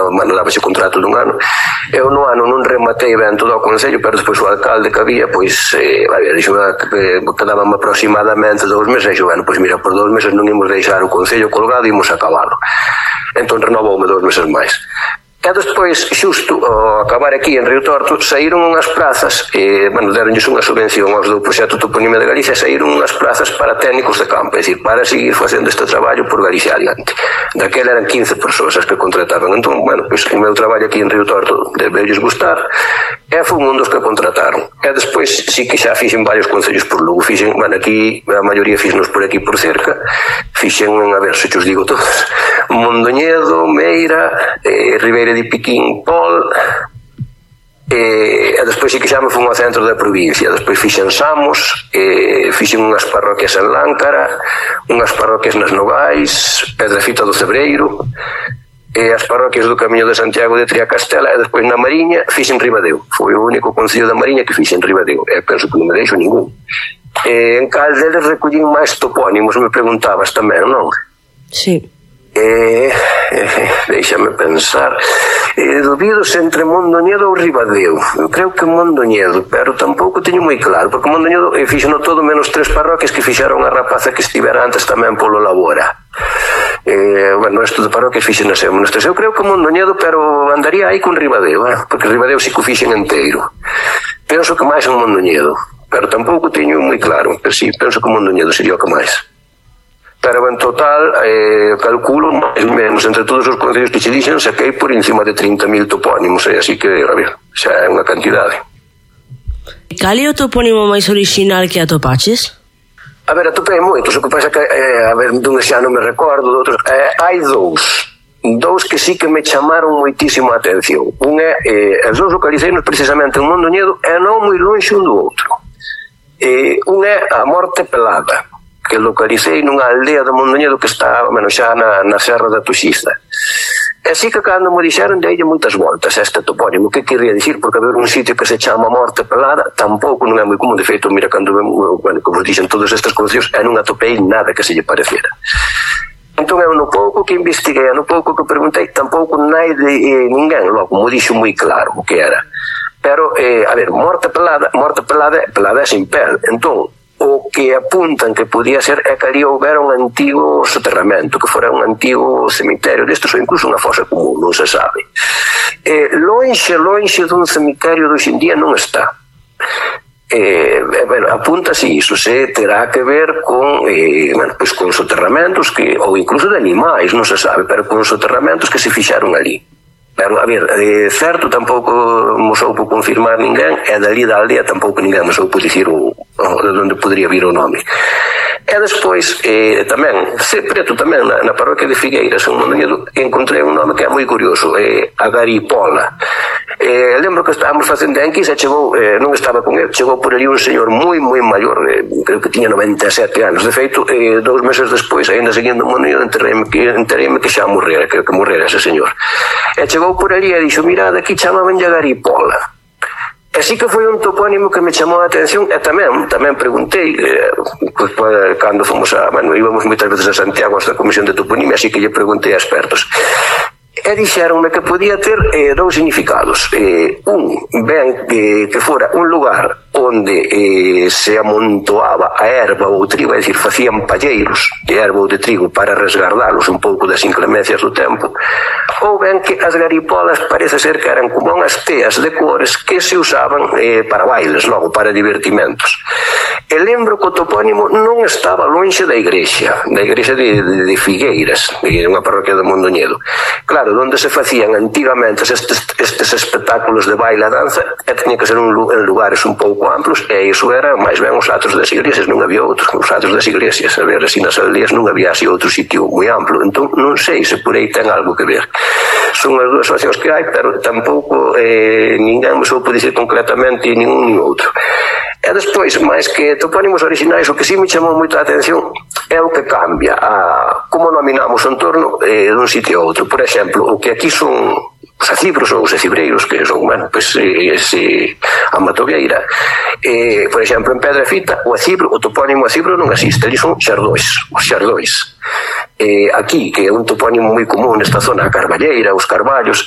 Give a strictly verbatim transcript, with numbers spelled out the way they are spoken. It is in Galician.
ano, bueno, dábase contrato dun ano. Eu no ano non rematei ben todo o concello, pero despois o alcalde que había, pois, eh, a ver, dixo que quedaban aproximadamente dous meses, e dixo, bueno, pois mira, por dous meses non imos deixar o concello colgado, imos acabalo. Entón renovoume dous meses máis. E despois, xusto ao acabar aquí en Río Torto, saíron unhas plazas, e, bueno, deronlles unha subvención aos do proxecto Toponimia de Galicia, saíron unhas plazas para técnicos de campo, é dicir, para seguir facendo este traballo por Galicia adiante. Daquela eran quince persoas as que contrataban. Entón, bueno, pois o meu traballo aquí en Río Torto debeulles gustar, e foi un dos que contrataron. E despois, sí que xa fixen varios concellos por Lugo, fixen, bueno, aquí, a maioría fixenos por aquí por cerca, fixen, a ver, se os digo todos, Mondoñedo, Meira, eh, Ribeira de Piquín, Pol, e, e despois sí que xa me fun ao centro da provincia. Despois fixen Samos, e, fixen unhas parroquias en Láncara, unhas parroquias nas Nogais, Pedrafita do Cebreiro, e as parroquias do Camiño de Santiago de Triacastela, e despois na Mariña fixen Ribadeo. Foi o único concello da Mariña que fixen Ribadeo, e penso que non me deixo ningún. E en cal deles recollín máis topónimos, me preguntabas tamén, non? Sí. Eh, eh, déixame pensar, eh, dubidos entre Mondoñedo ou Ribadeo. Eu creo que Mondoñedo, pero tampouco teño moi claro, porque Mondoñedo eh, fixeno todo menos tres parroquias que fixaron a rapaza que estivera antes tamén polo Labora. Eh, bueno, isto de parroquias fixen as eu, eu creo que Mondoñedo, pero andaría aí con Ribadeo, eh? Porque Ribadeo si que o fixen inteiro. Penso que máis en Mondoñedo, pero tampouco teño moi claro, pero si, penso que Mondoñedo sería o que máis. Pero en total, eh, calculo máis ou menos entre todos os concellos que che dixen, saquei por encima de trinta mil topónimos, eh? Así que, a ver, xa é unha cantidade. Cal é o topónimo máis original que atopaches? A ver, atopei moitos, o que pasa que, eh, a ver, dun xa non me recordo, de outros, eh, hai dous, dous que sí que me chamaron moitísimo a atención. Un é, eh, os dous localiceinos precisamente en Mondoñedo, e non moi longe un do outro. Eh, un é a Morte Pelada, que localicei nunha aldea de Mondoñedo que está, bueno, xa na, na Serra da Tuxiza. E así que cando me dixeron deille moitas voltas a este topónimo, que quería dicir, porque haber un sitio que se chama Morte Pelada tampouco non é moi común. De feito, mira, cando vemos, bueno, como dixen todos estes concellos, e non atopei nada que se lle pareciera. Entón eu no pouco que investiguei, no pouco que preguntei, tampouco nai de eh, ninguén logo me dixo moi claro o que era. Pero, eh, a ver, Morte Pelada, Morte Pelada, Pelada é sin pel. Entón, o que apuntan que podía ser é que ali houbera un antigo soterramento, que fora un antigo cemiterio destes, ou incluso unha fosa común, non se sabe. Eh, lonxe, lonxe dun cemiterio de hoxendía non está. Eh, bueno, apunta-se iso, se terá que ver con, eh, bueno, pues con soterramentos que, ou incluso de animais, non se sabe, pero con soterramentos que se fixaron ali. Pero, a ver, de certo tampouco mo soupo confirmar ninguén, e dali da aldea tampouco ninguén me soupo dicir o, o, de onde podría vir o nome. E despois, eh, tamén, se preto tamén, na, na parroquia de Figueiras, en Mondoñedo, encontrei un nome que é moi curioso, eh, Agaripola. Eh, lembro que estábamos facendo enquisa, chegou, eh, non estaba con ele, chegou por ali un señor moi, moi maior, eh, creo que tiña noventa e sete anos. De feito, eh, dous meses despois, ainda seguindo o Mondoñedo, entereime que, entereime que xa morrera, que, que morrera ese señor. E chegou por ali e dixo, mira, daqui chamaban Agaripola. Así que foi un topónimo que me chamou a atención, e tamén, tamén preguntei, eh, pues, pues, cando fomos a, bueno, íbamos moitas veces a Santiago hasta a Comisión de Toponimia, así que lle preguntei a expertos. E dixeronme que podía ter eh, dous significados. Eh, un, ben eh, que fora un lugar onde eh, se amontoaba a erva ou o trigo, é dicir, facían palleiros de erva ou de trigo para resgardalos un pouco das inclemencias do tempo, ou ben que as garipolas parece ser que eran como unhas teas de cores que se usaban eh, para bailes, logo para divertimentos. E lembro que o topónimo non estaba lonxe da igrexa, da igrexa de, de, de Figueiras, de unha parroquia de Mondoñedo. Claro, onde se facían antigamente estes, estes espectáculos de baile e danza, e teña que ser un, en lugares un pouco amplos, e iso era máis ben os atos das iglesias, non había outros, os atos das iglesias, a ver, así nas aldeas non había así outro sitio moi amplo. Entón non sei se por aí ten algo que ver. Son as dúas opcións que hai, pero tampouco eh, ninguén me soupo dicir concretamente nin un nin outro. E despois, máis que topónimos originais, o que sí me chamou moito a atención é o que cambia, a como nominamos o entorno eh, dun sitio a outro. Por exemplo, o que aquí son os acibros ou os acibreiros, que son, bueno, pues, ese, a Matogueira. Eh, por exemplo, en Pedrafita, o acibro, o topónimo acibro non existe, ali son xardóis, os xardóis. Eh, aquí, que é un topónimo moi común nesta zona, a Carballeira, os Carballos,